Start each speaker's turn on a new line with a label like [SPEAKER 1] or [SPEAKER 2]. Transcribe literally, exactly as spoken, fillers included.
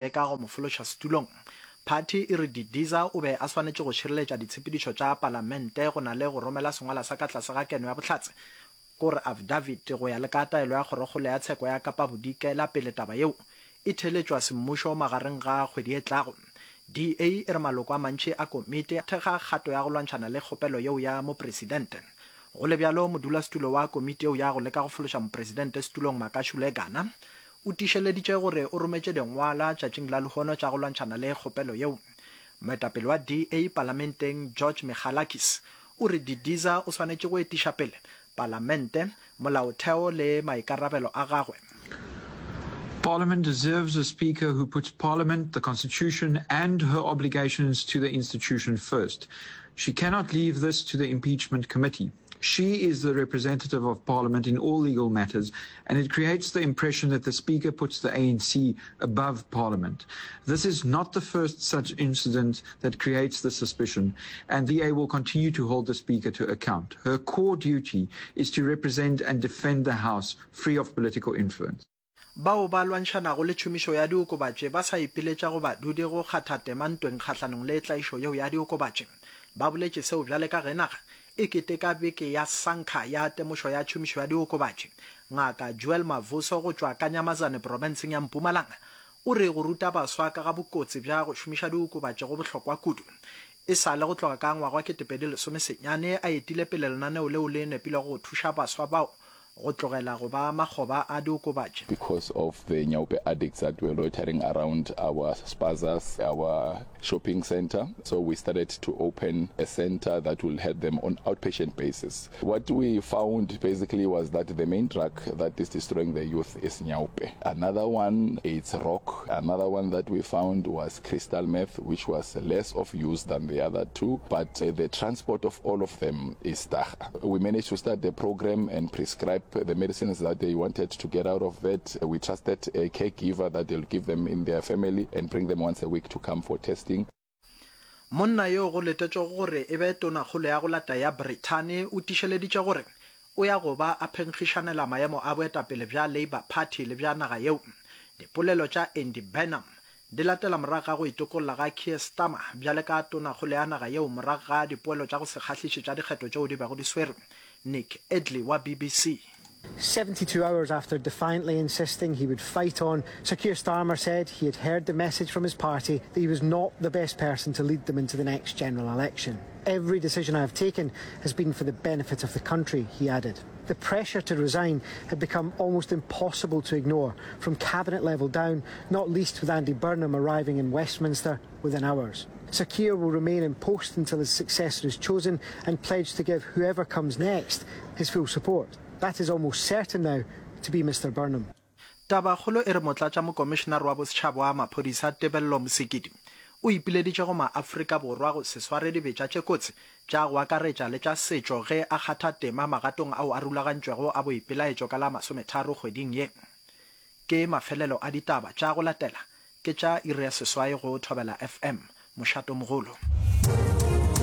[SPEAKER 1] leka go mo fološa setulong. Phathi e re Didiza o be a swanetše go šireletša ditshepedišo tša palamente go na le go romela sengwala sa ka tlase ga keno ya bohlatse, kore affidavit, go ya le ka taelo ya Kgorokgolo ya Tsheko ya Kapa Bodikela pele taba yeo e theeletšwa semmušo magareng ga kgwedi e tlago. D A e re maloko a mantši a komiti a thekga kgato ya go lwantšhana le kgopelo yeo ya mopresidente. Go le bjalo, modulasetulo wa komiti yeo ya go leka go fološa mopresidente setulong Makashule Gana o tiišeleditše gore o rometše dingwalwa tšatšing la lehono tša go lwantšhana le kgopelo yeo. Moetapele wa D A palamenteng George Michalakis o re Didiza o swanetše go etiša pele palamente, molaotheo le maikarabelo a gagwe.
[SPEAKER 2] Parliament deserves a speaker who puts Parliament, the Constitution and her obligations to the institution first. She cannot leave this to the impeachment committee. She is the representative of Parliament in all legal matters, and it creates the impression that the Speaker puts the A N C above Parliament. This is not the first such incident that creates the suspicion, and the D A will continue to hold the Speaker to account. Her core duty is to represent and defend the House free of political influence.
[SPEAKER 1] Bao ba lwantšhanago le tšhomišo ya diokobatši ba sa ipiletša go badudi go kgatha tema ntweng kgahlanong le tlaišo yeo ya diokobatši. Ba boletše seo bjale ka ge naga e keteka beke ya sankha ya temošo ya tšhomišo ya diokobatši. Ngaka Joel Mavuso go tšwa Kanyamazane profenseng ya Mpumalanga o re go ruta baswa ka ga bokotsi bja go šomiša diokobatši go bohlokwa kudu. E sa le go tloga ka ngwaga wa ketepedi lesome senyane a etile pele lenaneo leo le nepilego go thuša baswa bao go tlogela go ba makgoba a diokobatši.
[SPEAKER 3] Because of the nyaope addicts that were loitering around our spazas, our shopping center. So we started to open a center that will help them on outpatient basis. What we found basically was that the main drug that is destroying the youth is nyaope. Another one is rock. Another one that we found was crystal meth, which was less of use than the other two, but uh, the transport of all of them is dagga. We managed to start the program and prescribe the medicines that they wanted to get out of it. We trusted a caregiver that they'll give them in their family and bring them once a week to come for testing.
[SPEAKER 1] Monna yo go letetšwego gore e be tonakgolo ya go lata ya Brithani o tiišeleditše gore o ya go ba a phenkgišanela maemo a boetapele bja Labour Party le bja naga yeo. Dipolelo tša Andy Burnham di latela morago ga go itokolla ga Keir Starmer bjale ka tonakgolo ya naga yeo morago ga dipoelo tša go se kgahliše tša dikgetho tšeo di bego di swerwe. Nick Edley wa B B C.
[SPEAKER 4] seventy-two hours after defiantly insisting he would fight on, Sir Keir Starmer said he had heard the message from his party that he was not the best person to lead them into the next general election. "Every decision I have taken has been for the benefit of the country," he added. The pressure to resign had become almost impossible to ignore, from cabinet level down, not least with Andy Burnham arriving in Westminster within hours. Sir Keir will remain in post until his successor is chosen and pledged to give whoever comes next his full support. That is almost certain now to be Mister Burnham.
[SPEAKER 1] Tabakgolo e re motlatšamokomišenare wa bosetšhaba wa maphodisa Tebello Mosikidi o ipileditše go maAfrika Borwa go se sware dibetša tše kotsi tša go akaretša le tša setšo ge a kgatha tema magatong ao a rulagantšwego a boipelaetšo ka la masometharo kgweding ye. Ke mafelelo a ditaba tša go latela ke tša iri ya seswai go Thobela F M, mošatomogolo.